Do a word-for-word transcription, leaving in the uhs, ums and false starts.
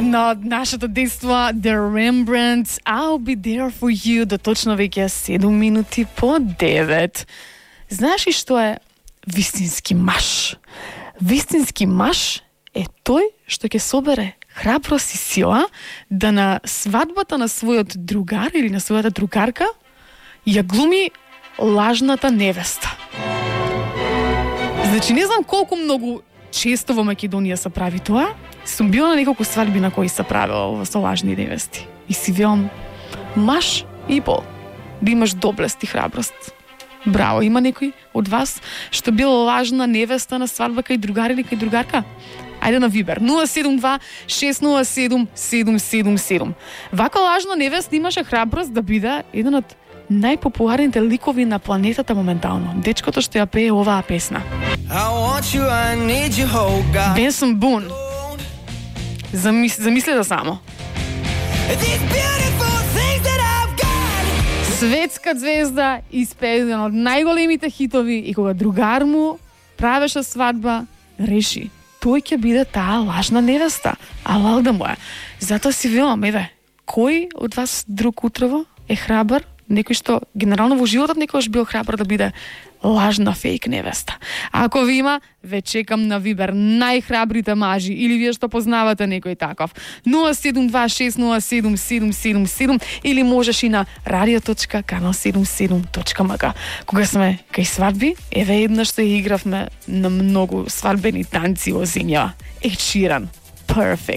Една од нашето дејство, The Rembrandts, I'll be there for you, до точно веќе седум минути по девет. Знаеш ли што е вистински маж? Вистински маж е тој што ќе собере храброст и сила да на свадбата на својот другар или на својата другарка ја глуми лажната невеста. Значи, не знам колку многу често во Македонија се прави тоа. Сум била на неколку свадби на кои се правело со лажни невести. И си велам, маж и бол, да имаш доблест и храброст. Браво, има некој од вас што била лажна невеста на свадба кај другари или кај другарка? Ајде на Вибер, нула седум два шест нула седум седум седум седум. Вака лажна невеста имаше храброст да биде еден од најпопуларните ликови на планетата моментално. Дечкото што ја пее оваа песна. Бенсон Бун. Замис... Замисли да само. Светска звезда испее еден од најголемите хитови и кога другар му правеше свадба, реши тој ќе биде таа лажна невеста, а лалда му е. Затоа си велам, еве, кој од вас друг утрово е храбар? Некој што генерално во животот некојаш бил храбар да биде лажна фейк невеста. А ако ви има, ве чекам на Вибер, најхрабрите мажи, или вие што познавате некој таков. нула седум два шест нула седум седум седум седум или можеш и на радио точка канал седумдесет и седум точка ем ка. Кога сме кај свадби, еве еднаш што игравме на многу свадбени танци во земја. Ed Sheeran, Perfect.